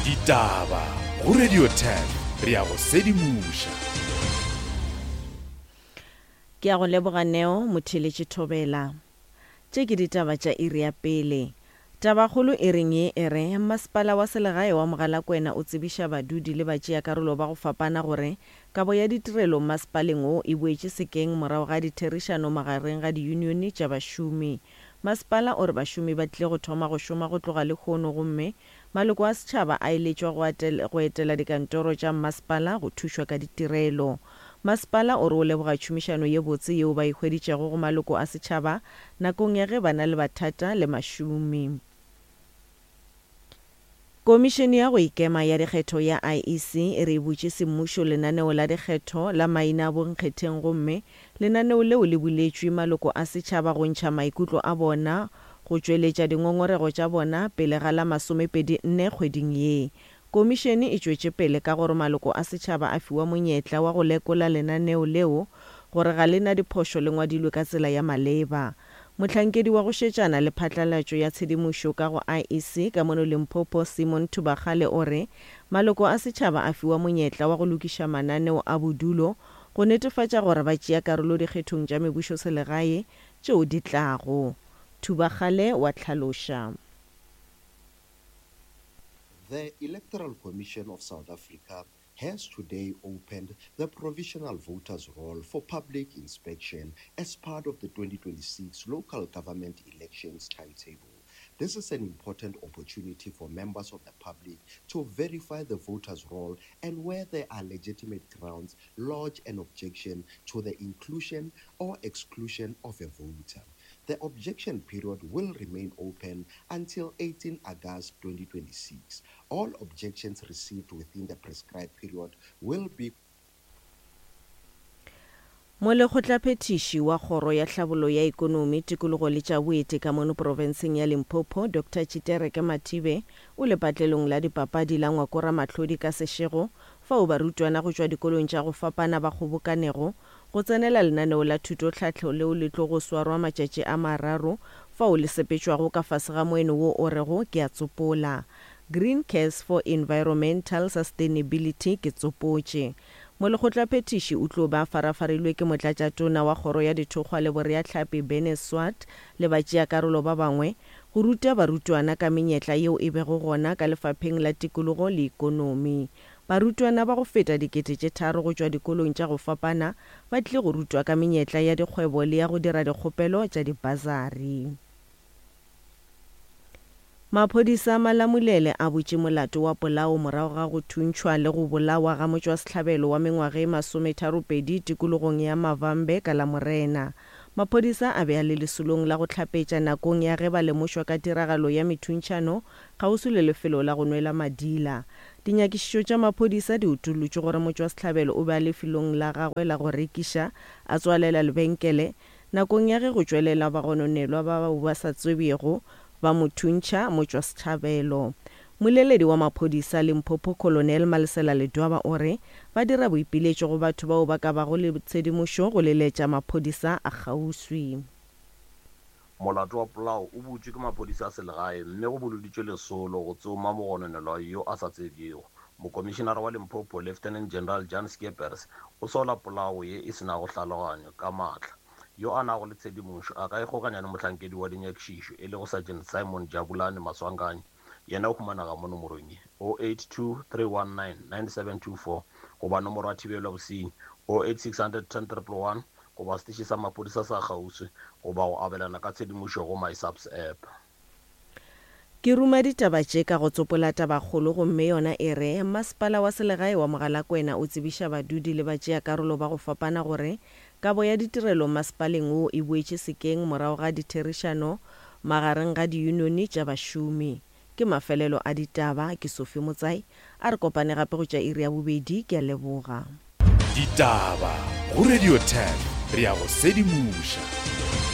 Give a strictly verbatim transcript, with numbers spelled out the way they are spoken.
Ditaba go Radio ten, re a go sedimoša. Ke a go leboga Neo, motheeletši Thobela. Tše ke ditaba tša iri ya pele. Tabakgolo e reng ye e re, Masepala wa Selegae wa Mogalakwena o tsebiša badudi le batšeakarolo ba go fapana gore kabo ya ditirelo masepaleng wo e boetše sekeng morago ga ditherišano magareng ga diyunione tša bašomi. Masepala o re bašomi ba tlile go thoma go šoma go tloga lehono gomme maloko a setšhaba a eletšwa go go etela dikantoro tša mmasepala go thušwa ka ditirelo. Masepala o re o leboga tšhomišano ye botse yeo ba e hweditšego go maloko a setšhaba nakong ya ge ba na le bathata le mašomi. Komišene ya go ikema ya dikgetho ya I E C e re e butše semmušo lenaneo la dikgetho la maina a bonkgetheng gomme lenaneo leo le buletšwe maloko a setšhaba go ntšha maikutlo a bona go tšweletša dingongorego tša bona pele ga la masomepedi nne kgweding ye. Komišene e tšwetše pele ka gore maloko a setšhaba a fiwa monyetla wa go lekola lenaneo leo gore ga le na diphošo le ngwadilwe ka tsela ya maleba. Mohlankedi wa go šetšana le phatlalatšo ya tshedimošo ka go I E C ka mono Limpopo Simon Thubakgale o re maloko a setšhaba a fiwa monyetla wa go lokiša mananeo a bodulo go netefatša gore ba tšea karolo dikgethong tša mebušoselegae tšeo di tlago. Thubakgale wa hlaloša. The Electoral Commission of South Africa has today opened the provisional voters roll for public inspection as part of the twenty twenty-six local government elections timetable. This is an important opportunity for members of the public to verify the voters roll and where there are legitimate grounds, lodge an objection to the inclusion or exclusion of a voter. The objection period will remain open until eighteenth August twenty twenty-six. All objections received within the prescribed period will be Molekgotlaphethiši wa kgoro ya tlhabollo ya ikonomi, tikologo le tša boeti ka mono profenseng ya Limpopo, Doctor Tshitereke Mathibe, o lepatlelong la dipapadi la Ngwakora Mahlodi ka Seshego, fao barutwana go tšwa dikolong tša go fapana ba kgobokanego go tsenela lenaneo la thutotlhahlo leo le tlo go swarwa matšatši a mararo, fao le sepetšwago ka fase ga moeno wo o rego ke a tsopola. Green Cares for Environmental Sustainability ke tsopotše. Molekgotlaphethiši o tlo ba farafarilwe ke motlatšatona wa kgoro ya dithokgwa le boreahlapi Bene Swart le batšeakarolo ba bangwe go ruta barutwana ka menyetla yeo e bego gona ka lefapheng la tikologo le ikonomi. Barutwana ba go feta dikete tše tharo go tšwa dikolong tša go fapana ba tlile go rutwa ka menyetla ya dikgwebo le ya go dira dikgopelo tša dibasari. Maphodisa a Malamulele a butše molato wa polao morago ga go thuntšhwa le go bolawa ga motšwasehlabelo wa mengwaga e masometharopedi tikologong ya Mavambe ka Lamorena. Maphodisa a be a le lesolong la go hlapetša nakong ya ge ba lemošwa ka tiragalo ya methuntšhano kgauswi le lefelo la go nwela madila. Dinyakišišo tša maphodisa di utollotše gore motšwasehlabelo o be a lefelong la gagwe la go rekiša a tswalela lebenkele nakong ya ge go tšwelela bagononelwa ba bao ba sa tsebjego ba mo thuntšha motšwasehlabelo. Moleledi wa maphodisa Limpopo Colonel Malesela Ledwaba o re ba dira boipiletšo go batho bao ba ka bago le tshedimošo go leletša maphodisa a kgauswi. Molato wa polao o butšwe ke maphodisa a selegae mme go boloditšwe lesolo go tsoma mogononelwa yo a sa tsebjego. Mokomišenara wa Limpopo Lieutenant General Jan Skeepers o sola polao ye e senago tlhaloganyo ka maatla. Yo a nago le tshedimošo a ka ikgokanya le mohlankedi wa dinyakišišo e lego Sergeant Simon Jabulani Maswanganyi. Yena o humanega mo nomorong ye oh eight two three one nine nine seven two four goba nomoro ya thibelo ya bosenyi oh eight six hundred ten triple one goba seteše sa maphodisa sa kgauswi goba go abelana ka tshedimošo go MySAPS app. Ke ruma ditaba tše ka go tsopola tabakgolo gomme yona e re masepala wa selegae wa Mogalakwena o tsebiša badudi le batšeakarolo ba go fapana gore kabo ya ditirelo masepaleng wo e boetše sekeng morago ga ditherišano magareng ga diyunione tša bašomi. Ke mafelelo a ditaba, ke Sophie Motsai, a re kopane gape go tša iri ya bobedi, ke a leboga. Ditaba go Radio ten, re a go sedimoša.